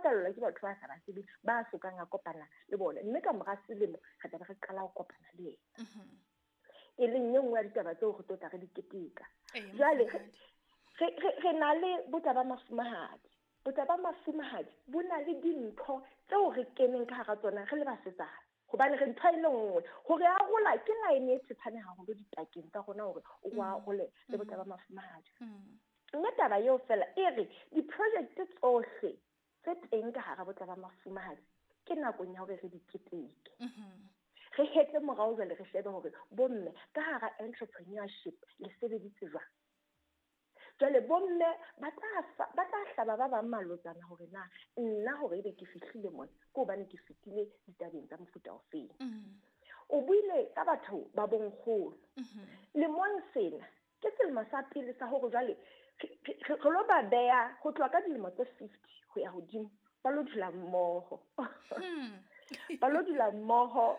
rapellwa ke batho ba sa ba tsebeng, ba sokang a kopana le bona. Mme ka mora selemo re tla be re qala ho kopana le yena. E leng e nngwe ya ditaba tseo re tlo tla re di keteka. Jwale re na le botla ba mafumahadi. Botla ba mafumahadi bo na le dintho tseo re keneng ka hara tsona re le basetsana. Hobane re ntho e le nngwe hore arola ke line e tshepane haholo dipakeng tsa rona hore o arole le botla ba mafumahadi. Mme taba eo fela e re di-project tsohle tse teng ka hara botla ba mafumahadi ke nakong ya hore re di keteke. Re hetle morao jwale re shebe hore bomme ka hara entrepreneurship le sebeditse jwang. Jwale bomme ba tla hlaba ba bang malotsana hore na nna hore ebe ke fihlile mona ke hobane ke fetile ditabeng tsa mofuta ofeng. O buile ka batho ba bonkgono. Lemong sena ke selemo sa pele sa hore jwale re lo ba beha ho tloha ka dilemo tse 50 ho ya hodimo, ba lo dula mmoho. Ba lo dula mmoho,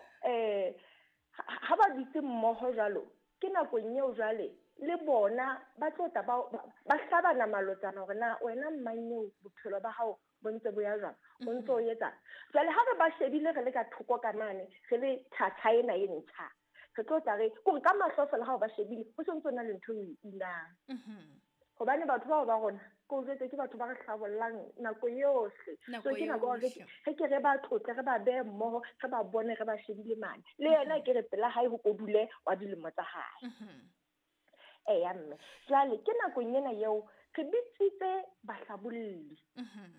ha ba dutse mmoho jwalo ke nakong eo jwale le bona ba tlo tla ba hlabana malotsana hore na wena mmanyeo bophelo ba hao bo ntse bo ya jwang, o ntse o etsang. Jwale ha re ba shebile re le ka thoko ka mane re le thatha ena e ntjha, re tlo tla re kore ka mahlo fela ha o ba shebile ho se ntse o na le ntho e inang. Hobane batho bao ba rona ke o jwetse ke batho ba re hlabollang nako yohle. So ke nako hore re ke re ba tlotle, re ba behe mmoho, re ba bone re ba shebile mane. Le yena ke re pela hae ho kodule wa dilemo tsa hae. Eya mme. Jwale ke nakong ena eo re bitsitse bahlabolli.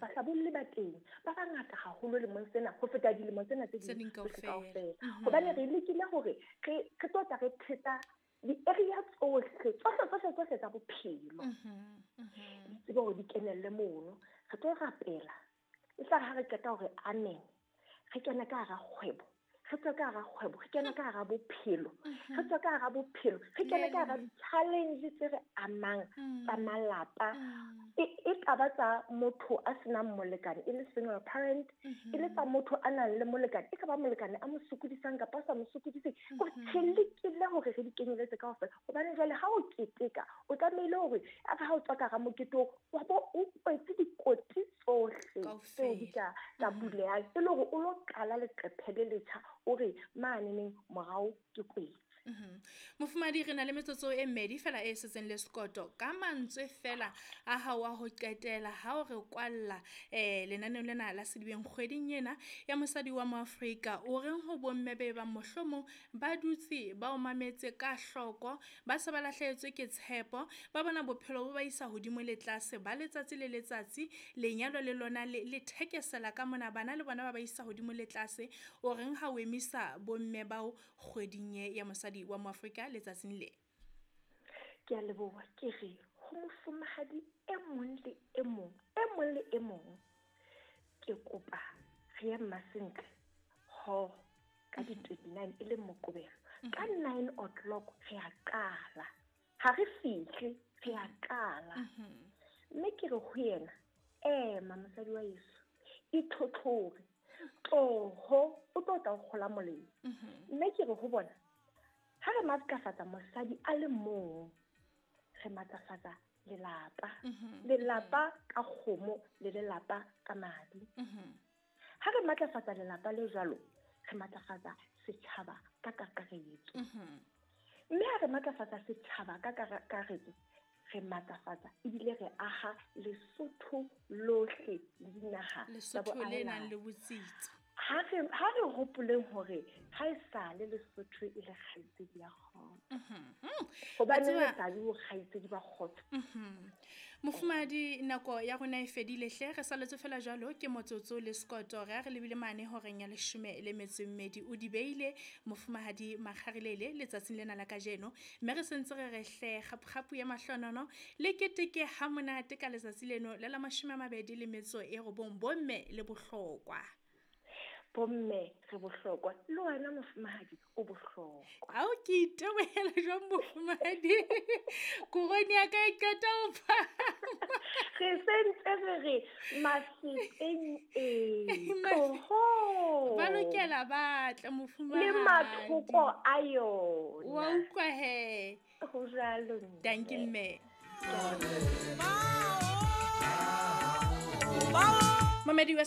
Bahlabolli ba teng ba bangata haholo lemong sena ho feta dilemo tsena tse ding kaofela. Hobane re lekile hore re tlo tla re thetsa di-area tsohle tsohle tsa bophelo. Di tsebe hore di kenelle mono. Re tlo rapela. E tla re ha re qeta hore amen, re kene ka hara kgwebo. Re tswe ka hara kgwebo, re kene ka hara bophelo. Re tswe ka hara bophelo, re kene ka hara di-challenge tse re amang tsa malapa. E ka ba tsa motho a senang molekane, e le single parent, e le tsa motho a nang le molekane, e ka ba molekane a mo sokodisang kapa a sa mo sokodiseng. Kore re lekile hore re di kenyeletse kaofela. Hobane jwale ha o keteka, o tlamehile hore a re ha o tswa ka hara mokete oo, wa bo o kwetse dikoti tsohle tseo di ka bulehang, e le hore o lo qala leqephe le letjha, o re mane neng morao ke kwetse. Mofumahadi, re na le metsotso e mmedi fela e setseng le sekoto. Ka mantswe fela a hao a ho qetela ha o re kwalla lenaneo lena la Sedibeng kgweding ena ya mosadi wa Moafrika, o reng ho bomme be bang mohlomong ba dutse ba o mametse ka hloko, ba se ba lahlehetswe ke tshepo, ba bona bophelo bo ba isa hodimo le tlase ba letsatsi le letsatsi, lenyalo le lona le thekesela ka mona, bana le bona ba ba isa hodimo le tlase, o reng ha o emisa bomme bao kgweding ya mosadi wa Moafrika letsatsing le? Ke a leboha. Ke re ho mofumahadi e mong le e mong, e mong le e mong, ke kopa re ye Mmasentle ho ka di-29 e leng Moqebelo. Ka 9 o'clock re a qala. Ha re fihle, re a qala. Mme ke re ho yena, ema mosadi wa heso, itlhotlhore, tloho, o tlo tla o kgola molemo. Mme ke re ho bona, ha re matlafatsa mosadi a le mong, re matlafatsa lelapa. Lelapa ka kgomo le lelapa ka madi. Ha re matlafatsa lelapa le jwalo, re matlafatsa setjhaba ka kakaretso. Mme ha re matlafatsa setjhaba ka kakaretso, re matlafatsa ebile re aha Lesotho lohle le dinaha tsa Lesotho le nang le botsitso. Ha re hopoleng hore ha e sale Lesotho e le kgaitsedi ya kgotso. Hobane re sa le kgaitsedi ba kgotso. Mofumahadi, nako ya rona e fedile hle, re saletse fela jwalo ke motsotso le sekoto. Re a re lebile mane horeng ya 12. O di beile mofumahadi Makgarilele letsatsing lena la kajeno, mme re sentse re re hle kgapukgapu ya mahlonono le keteke ha monate ka letsatsi leno le la 29 bomme le bohlokwa. Bomme re bohlokwa, le wena mofumahadi o bohlokwa. Ao ke itebohela jwang mofumahadi, korone ya ka e qeta ho phahama. Re sentse re re maseteng e tloho. Ba lokela ba tle mofumahadi. Le mathoko a yona. Wa utlwa he. Ho jwalo mme. Dankie mme. Mamedi wa